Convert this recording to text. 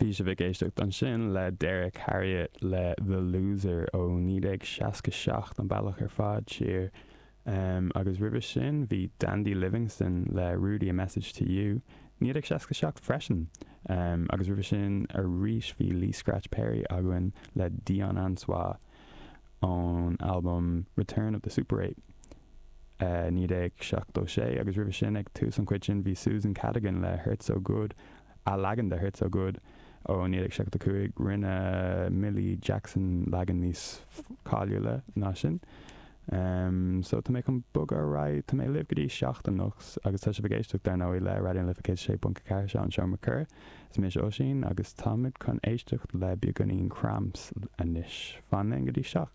Bhí sibh ag éisteacht ansin le Derrick Harriott le The Loser ó 1967, an bealach ar fad siar. Agus roimhe sin bhí Dandy Livingstone le Rudy A Message To You, 1967 freisin. Agus roimhe sin arís bhí Lee Scratch Perry againn le Dion Ansois. ón albam Return of the Super Ape, 1976, agus roimhe sin, ag tús an chuid sin, bhí Susan Cadogan le Hurt So Good, a leagan de Hurt So Good ó 1975, rinne Millie Jackson leagan níos cáiliúla ná sin. So tá mé chun bogadh ar aghaidh, tá mé libh go dtí 7 anocht agus tá sibh ag éisteacht, dar ndóigh, le Raidió na Life 106.4, seo an Seomra Comhrá. Is mise Oisín agus táimid chun éisteacht le beagáinín Cramps anois. Fan linn go dtí 7.